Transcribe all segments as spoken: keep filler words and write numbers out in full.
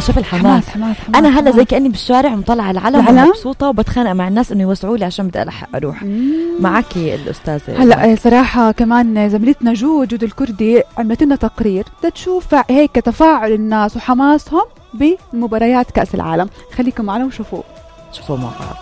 شوف الحماس. حماس حماس حماس انا هلا حماس. زي كاني بالشارع ومطلع على العلم ومبسوطه وبتخانق مع الناس انه يوسعوا لي عشان بدي الحق اروح. مم. معك الاستاذه هلا صراحه كمان زميلتنا جو جود الكردي عملت لنا تقرير تشوف هيك تفاعل الناس وحماسهم بمباريات كاس العالم. خليكم معنا وشوفوا شوفوا مع بعض.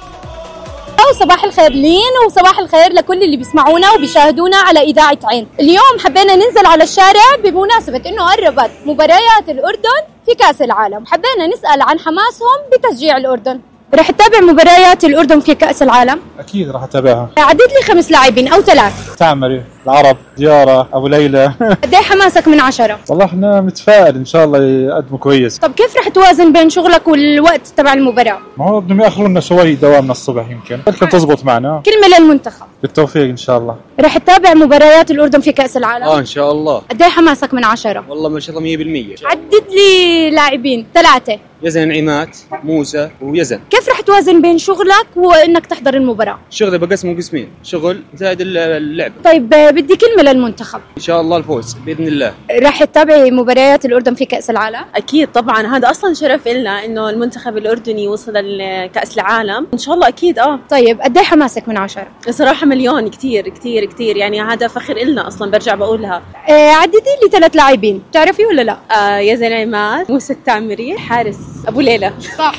صباح الخير لين وصباح الخير لكل اللي بيسمعونا وبيشاهدونا على إذاعة عين. اليوم حبينا ننزل على الشارع بمناسبة إنه قربت مباريات الأردن في كأس العالم. حبينا نسأل عن حماسهم بتشجيع الأردن. رح تتابع مباريات الأردن في كأس العالم؟ أكيد رح أتابعها. عدد لي خمس لاعبين أو ثلاث. تعمري، العرب، ديارة، أبو ليلى. قد ايه حماسك من عشرة؟ والله احنا متفائل إن شاء الله يقدموا كويس. طب كيف رح توازن بين شغلك والوقت تبع المباراة؟ ما هو بدهم يأخروا لنا شوي دوامنا الصبح يمكن، يمكن تزبط معنا. كلمة للمنتخب. بالتوفيق إن شاء الله. رح تتابع مباريات الأردن في كأس العالم؟ آه إن شاء الله. قد ايه حماسك من عشرة؟ والله ما شاء الله مية بالمية. عدد لي لاعبين ثلاثة. يزن عماد، موسى ويزن. كيف رح توازن بين شغلك وإنك تحضر المباراة؟ شغلي بقسمه قسمين، شغل زائد اللعب. طيب بدي كلمة للمنتخب. إن شاء الله الفوز بإذن الله. رح تتابعي مباريات الأردن في كأس العالم؟ أكيد طبعا، هذا أصلا شرف لنا إنه المنتخب الأردني وصل لكأس العالم إن شاء الله أكيد. آه طيب قد ايه حماسك من عشرة؟ صراحة مليون، كتير كتير كتير، يعني هذا فخر إلنا أصلا. برجع بقولها. آه عددي لي ثلاث لاعبين بتعرفي ولا لا؟ آه يزن عماد، موسى التعمري، حارس أبو ليلى. صح.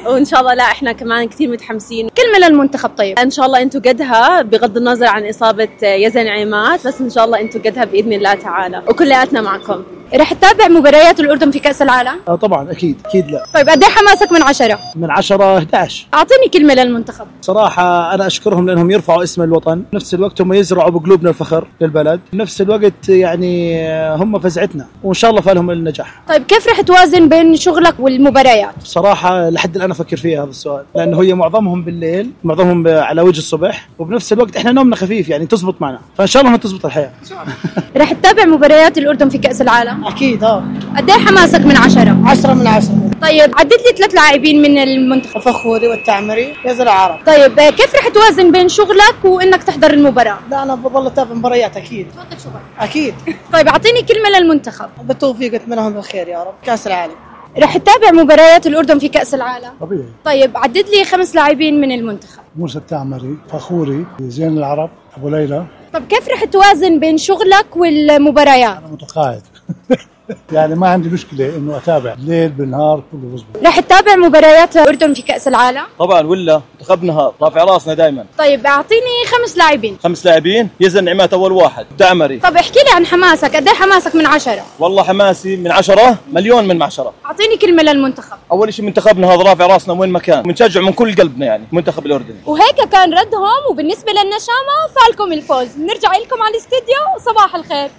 وإن شاء الله لا إحنا كمان كتير متحمسين. كلمة للمنتخب. طيب إن شاء الله أنتوا قدها بغض النظر عن إصابة يزن عماد، بس إن شاء الله أنتوا قدها بإذن الله تعالى وكلياتنا معكم. رح تتابع مباريات الأردن في كأس العالم؟ آه طبعا أكيد أكيد. لا طيب قد ايه حماسك من عشرة؟ من عشرة إحدى عشر. أعطيني كلمة للمنتخب. صراحة أنا أشكرهم لأنهم يرفعوا اسم الوطن، نفس الوقت هم يزرعوا بقلوبنا الفخر للبلد، نفس الوقت يعني هم فزعتنا وإن شاء الله فالهم النجاح. طيب كيف رح توازن بين شغلك والمباريات؟ صراحة لحد الآن أفكر فيها هذا السؤال، لأنه هي معظمهم بالليل، معظمهم على وجه الصبح، وبنفس الوقت إحنا نومنا خفيف يعني تزبط معنا، فإن شاء الله تزبط الحياة. رح تتابع مباريات الأردن في كأس العالم؟ أكيد. آه قد ايه حماسك من عشرة؟ عشرة من عشرة. طيب عدد لي ثلاث لاعبين من المنتخب. فخوري والتعمري يزن العرب. طيب كيف رح توازن بين شغلك وإنك تحضر المباراة؟ لا أنا بضل أتابع مباريات أكيد. تفضل شغلك. أكيد. طيب أعطيني كلمة للمنتخب. بالتوفيق أتمنى بالخير يا رب. كأس العالم. رح تتابع مباريات الأردن في كأس العالم؟ طبيعي. طيب عدد لي خمس لاعبين من المنتخب. موسى التعمري، فخوري، زين العرب، أبو ليلى. طب كيف رح توازن بين شغلك والمباريات؟ أنا متقاعد. يعني ما عندي مشكلة إنه أتابع ليل بالنهار كله بزبط. رح تتابع مباريات الأردن في كأس العالم؟ طبعا ولا منتخبنا رافع راسنا دائما. طيب أعطيني خمس لاعبين. خمس لاعبين. يزن عماد أول واحد، تعمري. طب احكي لي عن حماسك، قد ايه حماسك من عشرة؟ والله حماسي من عشرة مليون من عشرة. أعطيني كلمة للمنتخب. أول شيء منتخبنا هذا رافع راسنا وين مكان، بنشجع من كل قلبنا يعني منتخب الأردن. وهيك كان ردهم، وبالنسبة للنشامة فالكم الفوز. بنرجع لكم على الاستديو. صباح الخير.